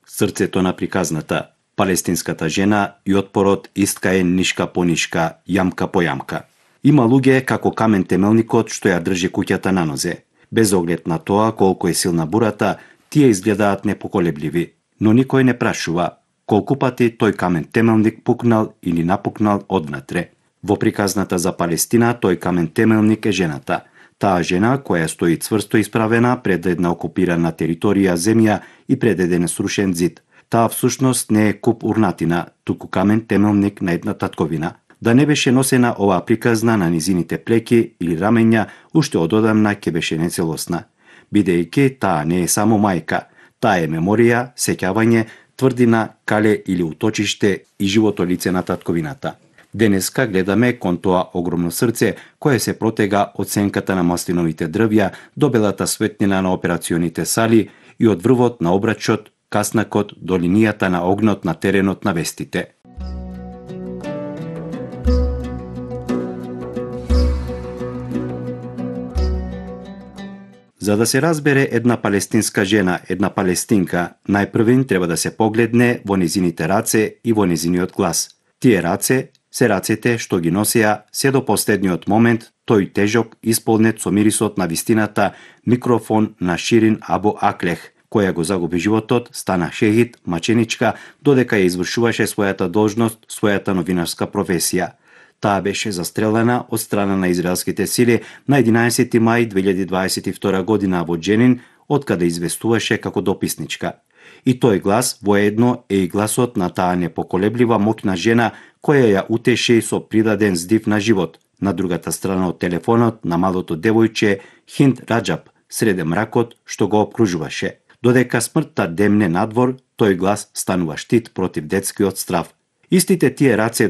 Срцето на приказната, палестинската жена и отпорот иска е нишка по нишка, јамка по јамка. Има луѓе како камен темелникот што ја држи куќата на нозе. Без оглед на тоа колку е силна бурата, тие изгледаат непоколебливи, но никој не прашува колку пати тој камен темелник пукнал или напукнал одвнатре. Во приказната за Палестина тој камен темелник е жената. Таа жена која стои цврсто исправена пред една окупирана територија земја и пред еден срушен зид. Таа всушност не е куп урнатина, туку камен темелник на една татковина. Да не беше носена оваа приказна на низините плеки или рамења, уште ододамна ќе беше нецелосна. Бидејќи таа не е само мајка, таа е меморија, сеќавање, тврдина, кале или уточиште и живото лице на татковината. Денеска гледаме кон тоа огромно срце кое се протега од сенката на маслиновите дрвја до белата светлина на операционите сали и од врвот на обрачот, каснакот до линијата на огнот на теренот на вестите. За да се разбере една палестинска жена, една палестинка, најпрвин треба да се погледне во незините раце и во незиниот глас. Тие раце се рацете што ги носеа се до последниот момент тој тежок исполнет со мирисот на вистината микрофон на Ширин Абу Аклех, која го загуби животот, стана шехид, маченичка, додека ја извршуваше својата должност, својата новинарска професија. Таа беше застрелена од страна на израелските сили на 11 мај 2022 година во Дженин, откаде известуваше како дописничка. И тој глас воедно е и гласот на таа непоколеблива моќна жена која ја утеши со придаден здив на живот на другата страна од телефонот на малото девојче Хинд Раџаб среде мракот што го обкружуваше. Додека смртта демне надвор, тој глас станува штит против детскиот страв. Истите тие раце